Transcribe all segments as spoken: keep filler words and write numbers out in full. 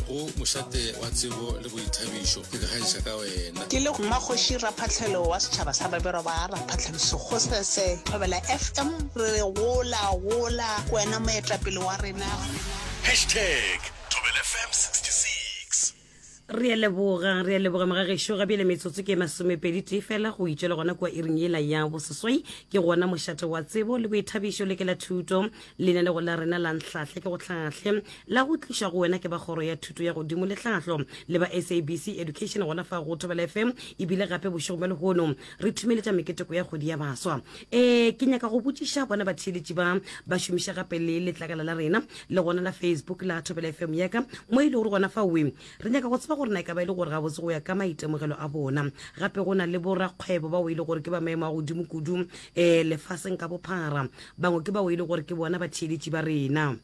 go mošate wa tsebo le boithabišo ke kgantšha ka wena. Ke le Mmakgoši Raphahlelo wa setšhaba sa Babirwa ba Raphahlelo Sekgosese Thobela F M re re gola gola ke wena moetapele wa rena. Hashtag Thobela F M sixty six Re a leboga, re a leboga mogagešo. Ga bjale metsotso ke masomepedi tee fela go itšwela gona kua iring yela ya boseswai. Ke gona mošate wa tsebo le boithabišo le ke la thuto, lenanego la rena la Nhlahle ke go hlahle, la go tliša go wena ke ba kgoro ya thuto ya godimo le tlhahlo le ba S A B C Education gona fa go Thobela F M. Ebile gape bošego bja lehono re thumeletša meketeko ya kgwedi ya baswa. um ke nyaka go botšiša bona batheeletši ba ba šomiša gape le letlakala la rena le gona la Facebook la Thobela F M yaka, mo e le gore gona fa we re nyaka go tseba gore na e ka ba e le gore gabotse go ya ka maitemogelo a bona, gape go na le borakgwebo bao e le gore ke ba maemo a godimo kudu um lefaseng ka bophara, bangwe ke bao e le gore ke bona batheeletši ba rena.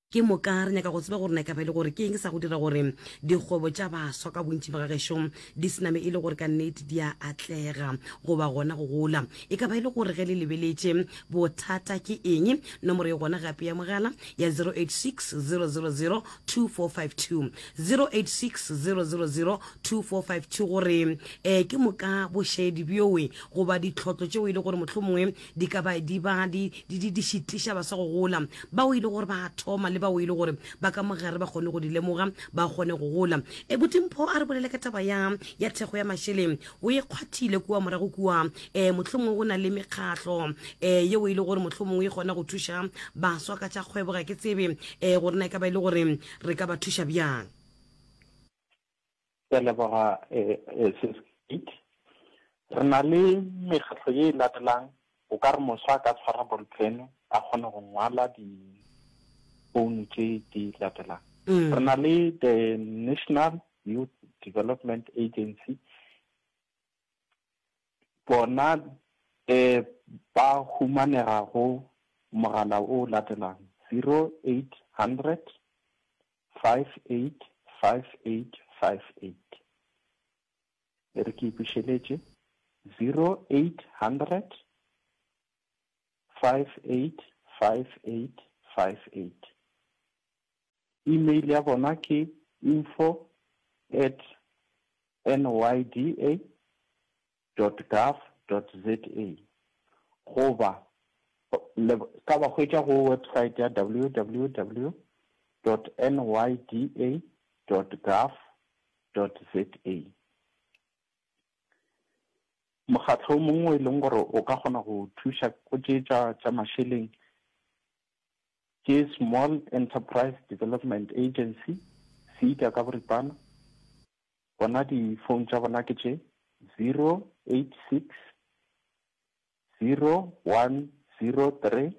Ke moka re nyaka go tseba gore na e ka ba e le gore ke eng sa go dira gore dikgwebo tša baswa ka bontši ba gagešo di sename e le gore ka nnete di a atlega goba gona go gola. E ka ba e le gore ge le lebeletše bothata ke eng? Nomoro e gona gape ya mogala ya zero eight six zero zero zero two four five two, zero eight six zero zero zero two four five two, gore um ke moka bošedi bjoe goba ditlhotlo tšeo e le gore mohlomongwe di ka ba di ba di di di šitiša baswa go gola, bao e le gore ba thoma le bao e le gore ba ka mogare ba kgone go di lemoga, ba kgone go gola. E botimpho, a re bolele ka taba ya ya thekgo ya mašeleng. O e kgwathile kua morago kua. um mohlomongwe go na le mekgahlo um yeo e le gore mohlomongwe e kgona go thuša baswa ka tša kgwebo. Ga ke tsebe um gore na e ka ba e le gore re ka ba thuša bjang. Ke a leboga, sis Kate. Re na le mekgatlo ye e latelang. O ka re moswa a ka tshwara ball pen, a kgone go ngwala di-phone tše di latelang. Re na le the National Youth Development Agency. Bona um ba humanega go mogala o latelang: zero eight hundred five eight five eight five eight. E re ke ipušeletše: zero eight hundred five eight five eight five eight. Email ya bona ke info at nyda dot gov dot za, goba le ka ba hwetša go website ya W W W dot nyda dot gov dot za. Mokgatlo o mongwe e leng gore o ka kgona go thuša go tše tša tša mašeleng ke Small Enterprise Development Agency, SEDA ka boripana. Bona di-phone tša bona ke tše: zero eight six zero one zero three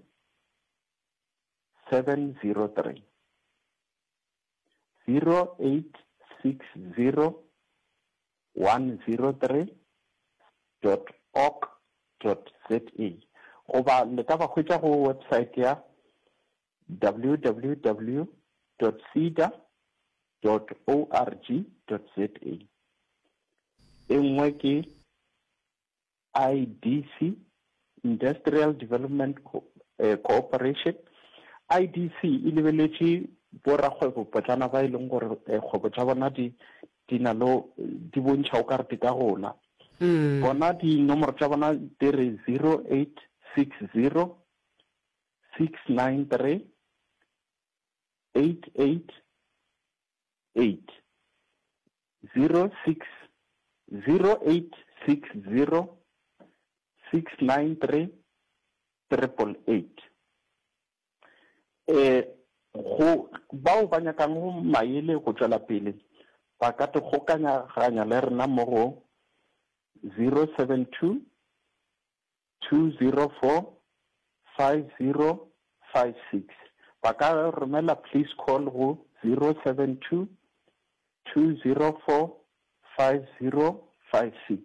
seven zero three, zero eight six zero one zero three dot org dot za, goba le ka ba hwetša go website ya W W W dot seda dot org dot za. E nngwe ke I D C, Industrial Development eh, Cooperation. I D C e lebeletše borakgwebo potlana ba e leng gore eh, kgwebo tša bona di di na le di bontšha o ka re di ka gola. Bona dinomoro tša bona di re zero eight six zero six nine three eight eight eight, zero six zero eight six zero six nine three triple eight. eh go bao ba nyakang go maele go tšwela pele, ba ka te kgokanyaganya le rena mo go zero seven two two zero four five zero five six. Ba ka romela please call go zero seven two two zero four five zero five six,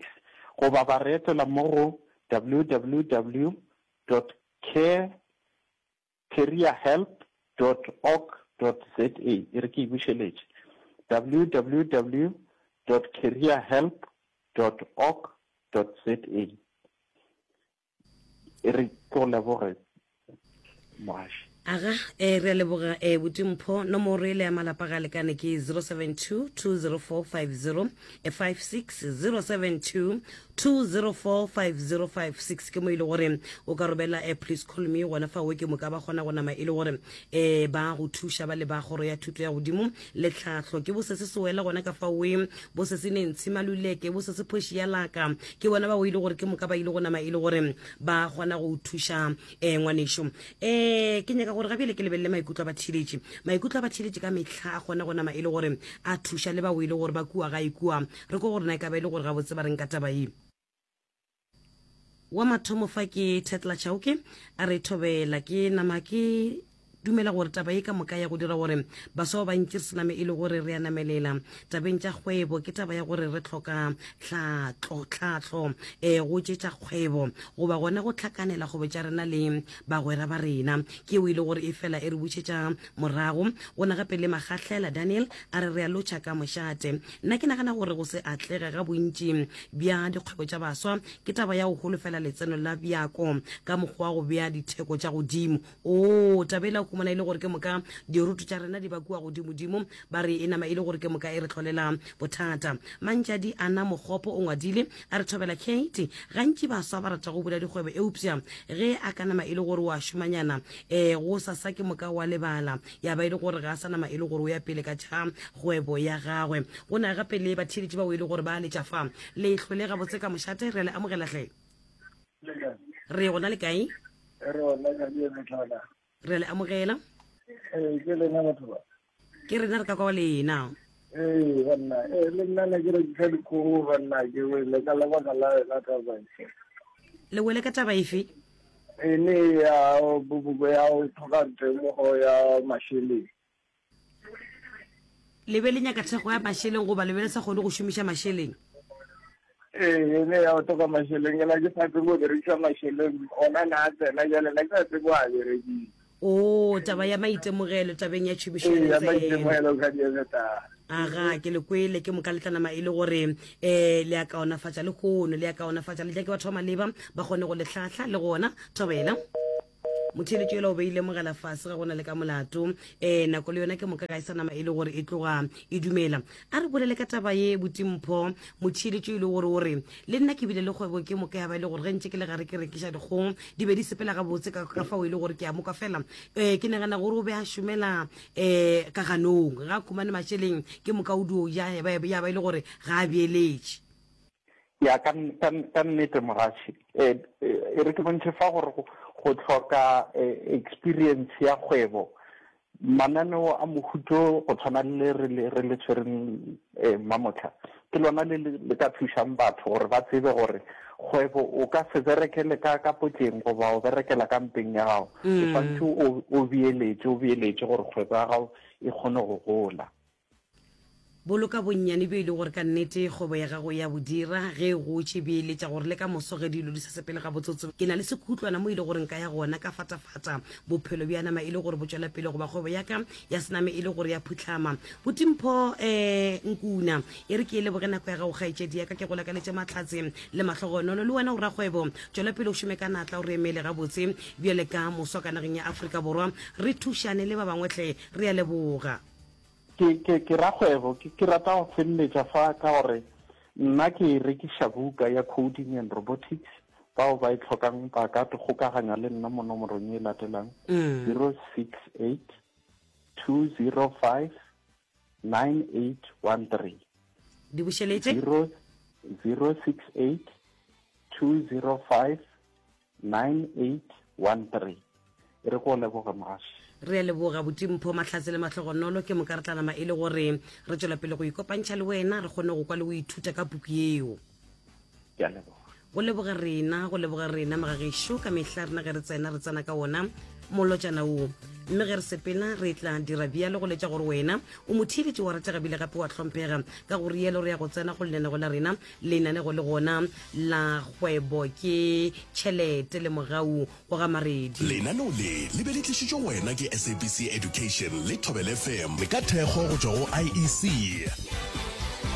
goba ba re etela mo go W W W dot care careerhelp dot org dot za. E re ke e bušeletše: W W W dot careerhelp dot org dot za. E re ke go leboge, moaši. Aga, eh, re a leboga eh, Botimpho. Nomoro ele ya malapa ga lekane ke zero seven two two zero four five zero five six, zero seven two two zero four five zero five six ke mo e le gore o ka robela eh, please call me gona fa o ke moka ba kgona go nama e le gore eh, ba go thuša ba le ba kgoro ya thuto ya godimo le tlhahlo. Ke bo se se sewela gona ka fa oe, bo se se nentshi maluleke, bo se se phoši ya laka, ke bona ba o ile gore ke moka ba ile go nama e le gore ba kgona go thuša eh, ngwanešo. Eh, ke nyaka gore ga bjale ke lebelele maikutlo a batheeletši. Maikutlo a batheeletši ka mehla a kgona go nama e le gore a thuša le bao e le gore ba kua gae kua. Re ko gore na e ka ba e le gore gabotse ba reng ka taba ye. Wa mathomo fa ke Tetla Chauke, a re thobela ke nama ke dumela gore taba ye ka moka ya go dira gore baswa ba bantši re se name e le gore re a namelela tabeng tša kgwebo ke taba ya gore re hloka tlhatlo, tlhahlo eh, go tše tša kgwebo goba gona go hlakanela kgwebo tša rena le bagwera ba rena. Ke yeo e le gore e fela e re bušetša morago. Go na gape le Magahlela Daniel a re re a lotšha ka mošate. Nna ke nagana gore go se atlege ga bontši bja dikgwebo tša baswa ke taba ya go holofela letseno la bjako ka mokgwa wa go bea ditheko tša godimo. Oo, taba ela o khumana e le gore ke moka diroto tša rena di ba kua godimodimo, ba re e nama e le gore ke moka e re hlolela bothata. Mantšadi Ana Mokgopo o ngwadile a re thobela Kate, gantši baswa ba rata go bula dikgwebo eupša ge a ka nama e le gore o a šomanyana um go sasa ke moka wa lebala ya ba e le gore ga a sa nama e le gore o ya pele ka tša kgwebo ya gagwe. Go na gape le batheeletši bao e le gore ba letša fa le hlole gabotse ka mošate, re a le amogela hle. Re gona le kae? Re gona ka metlhala. Re le amogela. Ee, ke lena batho ba. Ke rena re ka kwa lena. Ee, banna, ee, le nna ne ke rekisa dikgogo banna, ke wele ka lebaka la yona taba e. Le wele ka taba efe? E ne ya ya go tlhoka temogo ya mašeleng. Le be le nyaka thekgo ya mašeleng goba le be le sa kgone go šomiša mašeleng? Ee, ne ya go tlhoka mašeleng, ke na ke sa tsebe go berekisa mašeleng, ona na a tsena jale, na ke sa tsebe go a berekisa. O, taba ya maitemogelo tabeng ya tšhomišo ya Ee, ya maitemogelo ka dietsa. Aga, ke le kwele, ke moka le tla nama e le gore um le a kaonafatša le kgono, le a kaonafatša le tla ke batho ba maleba ba kgone go le hlahla le gona. Thobela. Motheeletšo yola o beile mogala fase ga gona le ka molato. Um nako le yona ke moka ga e sa nama e le gore e tloga e dumela. A re bolele ka taba ye Botimpho. Motheeletšo e le gore o re le nna ke bile le kgwebo ke moka ya ba e le gore ge ntše ke le gare ke rekiša dikgong di be di sepela gabotse ka ka fao e le gore ke a moka fela. Um ke nagana gore o be a šomela um ka ganong ga a khumane mašeleng ke moka o dio ja ya ba ya ba e le gore ga a beeletše. Ya ka ka ka nnete mogaši e re ke bontšhe fa gore go hloka experience ya kgwebo mananeo a mohuto go tshwana le re le re le tshwereng mamotlha ke lona le le ka thušang batho gore ba tsebe gore kgwebo o ka se berekele ka ka potleng goba o berekela ka mpeng ya gago, o swanetše o o beeletše o beeletše gore kgwebo ya gago e kgone go gola. Boloka bonnyane bjo e le gore ka nnete kgwebo ya gago ya bo dira ge e gotše. Beeletša gore le ka moso ge dilo di sa sepele gabotsotso, ke na le sekhutlwana mo e le gore nka ya gona ka fatafata bophelo bja nama e le gore bo tšwela pele goba kgwebo ya ka ya sename e le gore ya phuhlama. Botimpho um Nkuna, e re ke e leboge nako ya gago kgaetšedi ya ka, ke go lakaletše mahlatse le mahlogonolo. Le wena o rakgwebo, tšwela pele o šome ka natla, o re emele gabotse bjale ka moswa ka nageng ya Afrika Borwa, re thušane le ba bangwe hle. Re a leboga. Ke, ke, ke rakgwebo, ke, ke rata go feleletša fa ka gore nna ke rekiša buka ya Coding and Robotics. Bao ba e tlhokang ba ka kgokaganya le nna mo nomorong e latelang zero six eight two zero five nine eight one three. Di bušeletše? Zero, zero six eight two zero five nine eight one three. E re go leboga mogaši. Re a leboga Botimpho Mahlatse le Mahlogonolo, ke moka re tla nama e le gore re tšwela pele go ikopantšha le wena, re kgone go kwa le go ithuta ka puku yeo. Ke a leboga. Go leboga rena, go leboga rena magagešo, ka mehla rena ge re tsena re tsena ka wona molotšana wo, mme ge re sepela re tla dira bjalo go letša gore wena o motheeletši wa ratega bile gape wa hlomphega. Ka go rialo re ya go tsena go lenanego la rena, lenanego le gona la kgwebo ke tšhelete le mogau wa ga Maredi. Lenaneo le le be le tlišitšwe go wena ke S A B C Education le Thobela F M ka thekgo go tšwa go I E C.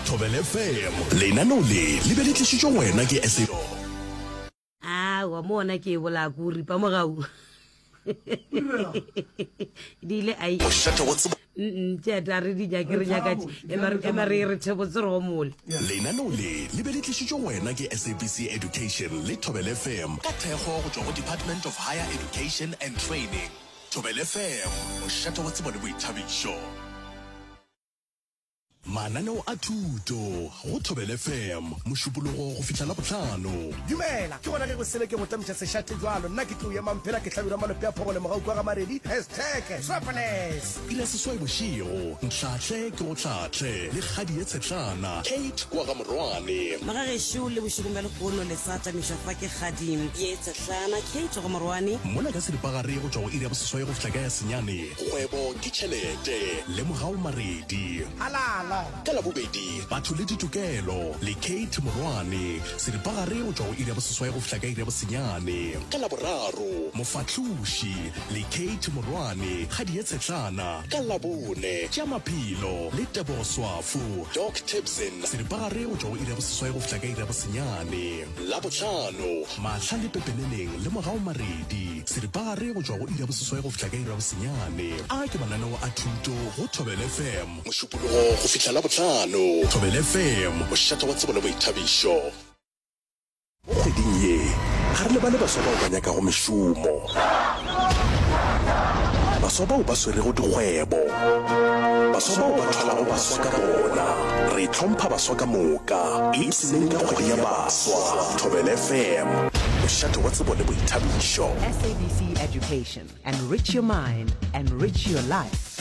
Thobela F M. Lenaneo le le be le tlišitšwe go wena ke S A Aowa, mo ona ke e bolaya ko ripa mogau. Di ile ai. Mošate wa tsebo. Tše a re di nyake re nyaka ema re re thebotse re gomole. Lenaneo le le be le tlišitšwe go wena ke S A B C Education le Thobela F M ka thekgo go tšwa go Department of Higher Education and Training. Thobela F M, mošate wa tsebo le boithabišo. Mananeo a thuto go Thobela F M Mošupologo go fihla Labohlano. Dumela, ke gona ge go sele ke go tamiša sešate jwalo. Nna ke tlo ema mphela ke hlabirwa malope a phogole mogau kwa ga Maredi. Hashtag Swapoles. Iri ya seswai bošego, Ntlhahle ke go hlahle le kgadi ye tshetlana Kate kwa ga Morwane. Magagešo le bošegong bja lehono le sa tamišwa fa ke kgadi ye tshetlana Kate ga Morwane. Mola ka seripagare go tšwa go iri ya boseswai go fihla ka ya senyane, Kgwebo ke tšhelete le Mogau Maredi. Halala. Ka Labobedi, Batho le Ditokelo le Kate Morwane, seripagare go tšwa go iri ya boseswai go fihla ka iri ya bosenyane. Ka Laboraro, Mofahloši le Kate Morwane, kgadi ye tshetlana. Ka Labone, tša Maphelo le Tebogo Swafo, Doc Tibson, seripagare go tšwa go iri ya boseswai go fihla ka iri ya bosenyane. Labohlano, Mahla le Pepeneneng le Mogau Maredi, seripagare go tšwa go iri ya boseswai go fihla ka iri ya bosenyane. A ke mananeo a thuto go Thobela F M Mošupologo go fihla Labohlano. Thobela F M, mošate wa tsebo le boithabišo. Mo kgweding ye ga re lebale baswa bao ba nyakago mešomo, baswa bao ba swerego dikgwebo, baswa bao ba thwalago baswa ka bona. Re hlompha baswa ka moka. Ipshineng ka kgwedi ya baswa. Thobela F M, mošate wa tsebo le boithabišo. S A B C Education. Enrich your mind, enrich your life.